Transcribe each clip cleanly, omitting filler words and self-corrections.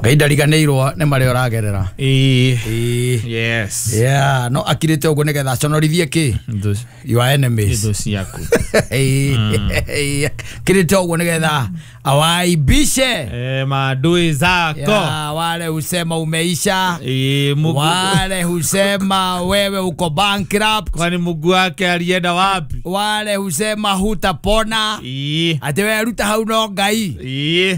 Ngai ndariganĩirwo nĩ marĩa ũragerera. Yes. Yeah, no akirĩte ũguo nĩgetha aconorithie kĩ your enemies. Thũ ciaku. Kirĩte ũguo nĩgetha awaibishe maadui zako. Yeah, wale husema umeisha. Wale husema wewe uko bankrupt. Kwani Mungu wake alienda wapi? Wale husema hutapona. Ati wewe ruta hau no Ngai.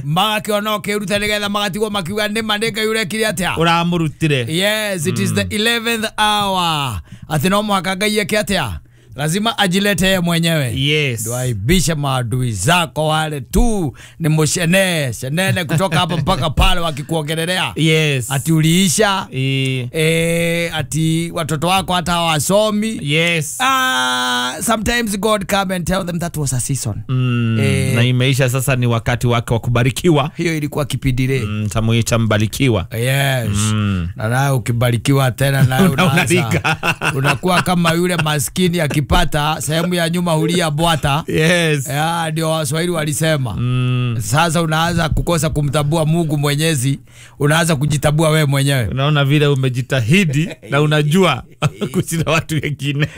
Magakĩona ũkĩruta nĩgetha magatigwo makiuga nĩ ma nĩ Ngai ũrekire atĩa? Ũramũrutire. Yes, it is the 11th hour. Ati no mũhaka Ngai eke atĩa? Lazima ajilete yeye mwenyewe. Yes. Ndio maadui zako wale tu ni mshene shenene kutoka hapa mpaka pale wakikuongelelea. Yes. Ati uliisha. Ati watoto wako hata hawasomi. Yes. Sometimes God come and tell them that was a season. Na imeisha sasa, ni wakati wake wa kubarikiwa. Hiyo ilikuwa kipindire. Tamuita mbarikiwa. Yes. Na nawe ukibarikiwa tena nawe unaanza. Unakuwa kama yule maskini akipata sehemu ya nyuma hulia bwata. Yes. Ndio Waswahili walisema. Sasa unaanza kukosa kumtambua Mungu Mwenyezi, unaanza kujitabua wewe mwenyewe. Unaona vile umejitahidi na unajua kushinda watu wengine.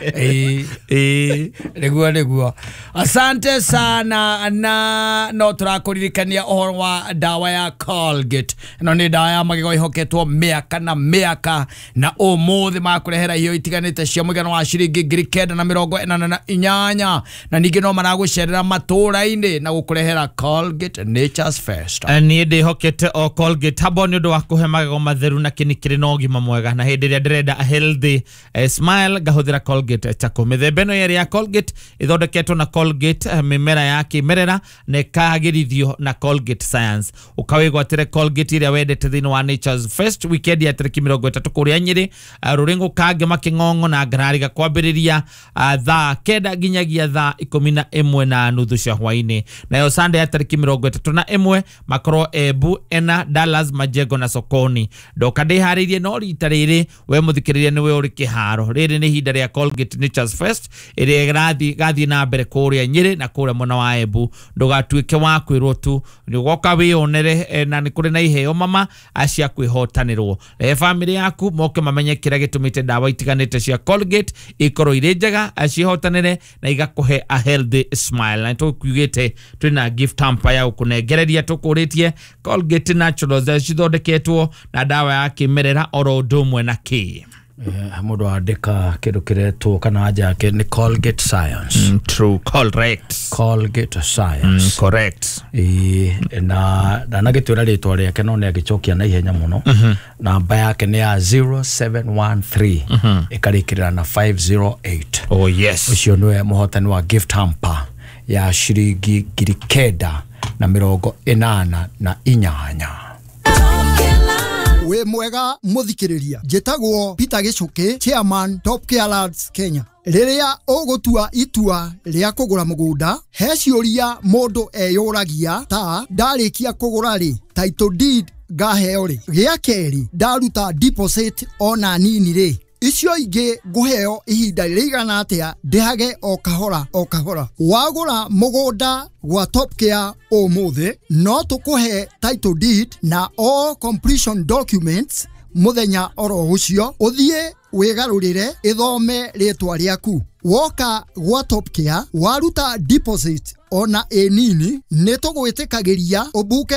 Niguo. Asante sana na no turakuririkania ũhoro wa dawa ya Colgate. No ni dawa ya magego ihoketwo mĩaka na mĩaka na ũmũthĩ makũrehera iheo itiganĩte cia mũigana wa ciringi 988 na ningĩ no maragũcerera matũũra-inĩ na gũkũrehera Colgate Nature's First. Niĩ ndĩhokete o Colgate habo nĩ ũndũ wa kũhe magego matheru na kĩni kĩrĩ na ũgima mwega, na hĩndĩ ĩrĩa ndĩrenda a healthy smile ngahũthĩra Colgate Charcoal. Mĩthemba ĩno yerĩ ya Colgate ĩthondeketwo na Colgate mĩmera ya kĩmerera na ĩkagĩrithio na Colgate Science. Ũkawĩgwatĩre Colgate ĩrĩa wendete thĩinĩ wa Nature's First weekend ya tarĩki 30 kũrĩa Nyĩrĩ, Rũrĩngũ, Kangema, Kĩng'ong'o na Ngarariga kwambĩrĩria thaa 9 nginyagia thaa 11:30 cia hwainĩ. Nayo Sunday ya tarĩki 31 makorwo Embu, Ena, Dallas, Majengo na Sokoni. Ndoka ndĩharĩirie no rita rĩrĩ we mũthikĩrĩria nĩwe ũrĩ kĩharo. Rĩrĩ nĩ ihinda rĩa Colgate Nature's First ĩrĩa ĩgathiĩ na mbere kũrĩa Nyĩrĩ na kũrĩa mwena wa Embu. Ndũgatuĩke wa kwĩrwo tu, nĩ ũgoka wĩyonere, na nĩ kũrĩ na iheo mama cia kwĩhotanĩrwo. Rehe bamĩrĩ yaku moke mamenye kĩrĩa gĩtũmĩte ndawa itiganĩte cia Colgate ikorwo irĩ njega, cihotanĩre na igakũhe a healthy smile. Na tũkiugĩte twĩna gift hamper ya gũkũnengereria, tũkũrĩtie Colgate Naturals cithondeketwo na ndawa ya kĩmerera oro ũndũ ũmwe na kĩ. Mũndũ andĩka kĩndũ kĩretwo kana anja yake nĩ Colgate Science. True, correct. Colgate Science. Correct. Na ndanagĩtwĩra rĩtwa rĩake no nĩ agĩcokia na ihenya mũno. Namba yake nĩ ya 0713 ĩkarĩkĩrĩra na 508. Oh yes. Ũcio nĩwe mũhotani wa gift hamper ya ciringi 988. We mwega muthikiriria, njĩtagwo Peter Gichuki, chairman Top Care Lads Kenya. Rĩrĩa ũgũtua itua rĩa kũgũra mũgũnda, he ciũria mũndũ eyũragia ta ndarĩkia kũgũra rĩ, title deed ngaheo rĩ, gĩa kerĩ ndaruta deposit ona nini rĩ, icio ingĩ ngũheo ihinda rĩigana atĩa ndĩhage o kahora o kahora. Wagũra mũgũnda gwa Top Care ũmũthĩ no tũkũhe title deed na all completion documents mũthenya oro ũcio, ũthiĩ wĩgarũrĩre ĩthome rĩtwa rĩaku. Woka gwa Top Care waruta deposit ona ĩ nini nĩ tũgwĩtĩkagĩria ũbuke